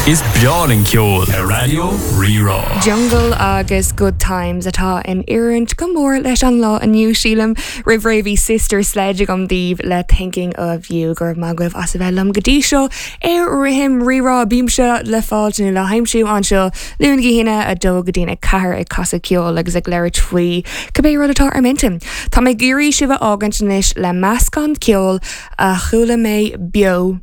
Is breá linn ceol ar Raidió Rí-Rá. Jungle agus Good Times atá in oiriúint go mór leis an lá inniu, sílim. Roimh ré bhí Sister Sledge agam daoibh le Thinking of You. Go raibh maith agaibh as a bheith liom go dtí seo ar Rithim Rí-Rá. Bímse le fáilt nó le haimsiú anseo Luan go hAoine, 2 go dtí 4 ag casadh ceoil agus ag labhairt faoi cibé rud atá ar m'intinn. Tá mé ag iarraidh sibh a fhágaint anois le meascán ceoil a chuala mé beo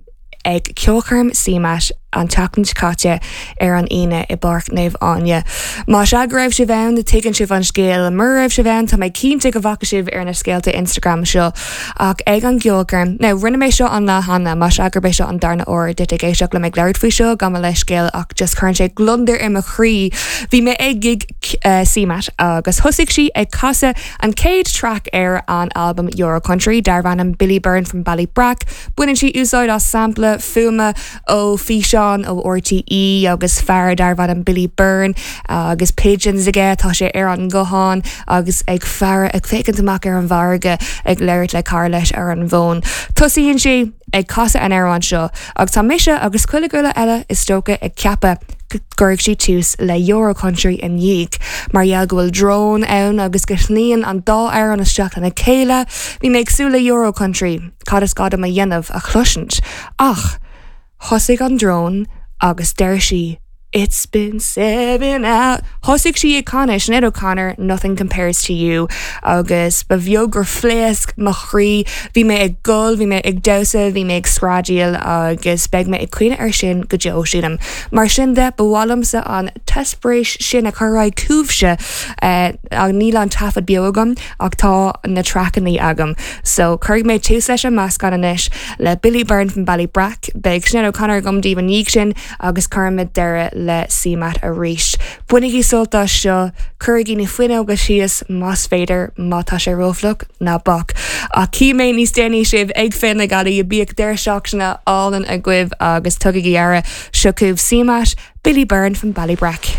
ag ceolchoirm CMAT an tseachtain seo caite ar an Aoine i bPáirc Naomh Áine. Más ea go raibh sibh ann, tuigeann sibh an scéal. Mura raibh sibh ann, tá mé cinnte go bhfaca sibh ar na scéalta Instagram seo. Ach ag an gceolchoirm, now rinne mé seo an lá cheana, más ea gurb é seo an darna huair duit ag éisteacht liom ag labhairt faoi seo, gabh mo leithscéal ach just cuireann sé gliondar ar mo chroí. Bhí mé ag gig CMAT agus thosaigh sí ag casadh An chéad traic ar an albam Euro Country, darbh ainm Billy Byrne from Ballybrack, baineann sí úsáid as sampla fuaime ó físeán ó RTÉ agus fear darbh ainm Billy Byrne agus pigeons aige, tá sé ar an nguthán agus ag faire, ag féachaint amach ar an bhfarraige ag labhairt le cara leis ar an bhfón. Tosaíonn sí ag casadh an amhráin seo agus tá mise agus chuile dhuine eile is dócha ag ceapadh go gcuirfidh sí tús le Euro Country i ndiaidh. Mar gheall go bhfuil drón ann agus go shnoíonn an dá amhrán isteach lena chéile, bhí mé ag súil le Euro Country, cad is gá dom a dhéanamh, a chloisint. Ach thosaigh an drón agus deir sí It's been seven hours. Thosaigh sí ag canadh Sinéad O'Connor, Nothing Compares to You agus ba bheag gur phléasc mo chroí. Bhí mé ag gol, bhí mé ag damhsa, bhí mé ag screadaíl agus beidh mé ag cuimhneamh air sin go deo, sílim. Mar sin de, ba mhaith liomsa an t-eispéireas sin a chur ar aghaidh chugaibhse. Níl an taifead beo agam ach tá na traiceanna agam. So, cuirfidh mé tús leis an meascán anois le Billy Byrne from Ballybrack. Beidh Sinéad O'Connor agam daoibh i ndiaidh sin. agus cuirfimid deireadh le CMAT arís. Bainigí sult as seo, cuirigí na fuinneoga síos más féidir, má tá sé rófhliuch, ná bac. Ach cífidh mé níos déanaí sibh ag Féile na Gealaí, bíodh deireadh seachtaine álainn agaibh agus tugaigí aire. Seo chugaibh CMAT, Billy Byrne from Ballybrack.